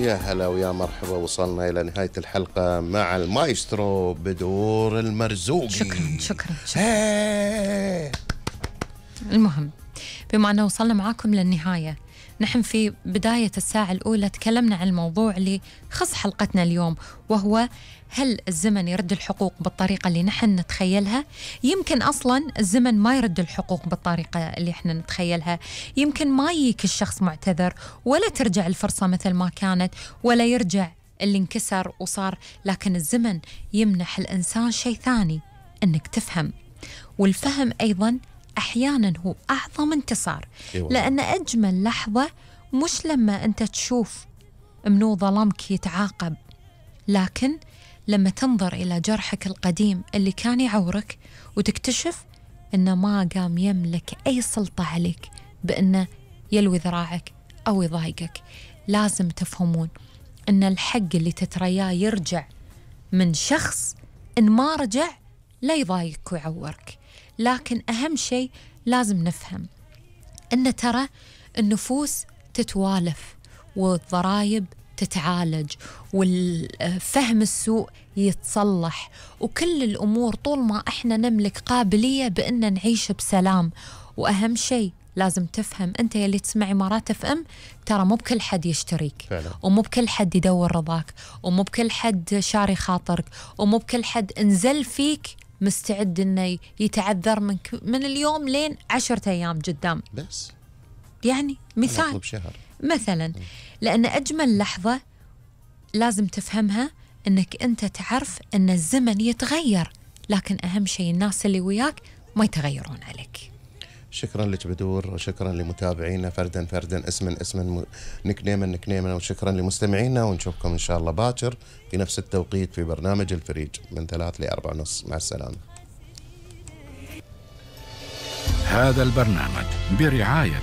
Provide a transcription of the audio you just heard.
يا هلا ويا مرحبا، وصلنا إلى نهاية الحلقة مع المايسترو بدور المرزوقي. شكرا. المهم، بما أنه وصلنا معاكم للنهاية، نحن في بداية الساعة الأولى تكلمنا عن الموضوع اللي خص حلقتنا اليوم، وهو هل الزمن يرد الحقوق بالطريقة اللي نحن نتخيلها؟ يمكن أصلاً الزمن ما يرد الحقوق بالطريقة اللي احنا نتخيلها، يمكن ما يجيك الشخص معتذر، ولا ترجع الفرصة مثل ما كانت، ولا يرجع اللي انكسر وصار، لكن الزمن يمنح الإنسان شيء ثاني، إنك تفهم، والفهم أيضاً أحياناً هو أعظم انتصار. لأن أجمل لحظة مش لما أنت تشوف منو ظلمك يتعاقب، لكن لما تنظر إلى جرحك القديم اللي كان يعورك وتكتشف إنه ما قام يملك أي سلطة عليك بأنه يلوي ذراعك أو يضايقك. لازم تفهمون إن الحق اللي تترياه يرجع من شخص، إن ما رجع لا يضايقك ويعورك. لكن أهم شيء لازم نفهم إن ترى النفوس تتوالف والضرايب تتعالج والفهم السوء يتصلح، وكل الأمور طول ما إحنا نملك قابلية بأن نعيش بسلام. وأهم شيء لازم تفهم أنت يلي تسمع إمارات اف ام، ترى مو بكل حد يشتريك فعلا. ومو بكل حد يدور رضاك، ومو بكل حد شاري خاطرك، ومو بكل حد انزل فيك مستعد إنه يتعذر منك من اليوم لين 10 أيام قدام. بس يعني مثال مثلا، لأن أجمل لحظة لازم تفهمها إنك أنت تعرف إن الزمن يتغير، لكن أهم شيء الناس اللي وياك ما يتغيرون عليك. شكرا لك بدور، وشكرا لمتابعينا فردا اسما نكنيما، وشكرا لمستمعينا، ونشوفكم إن شاء الله باكر في نفس التوقيت في برنامج الفريج من 3 ل4:30. مع السلامة. هذا البرنامج برعاية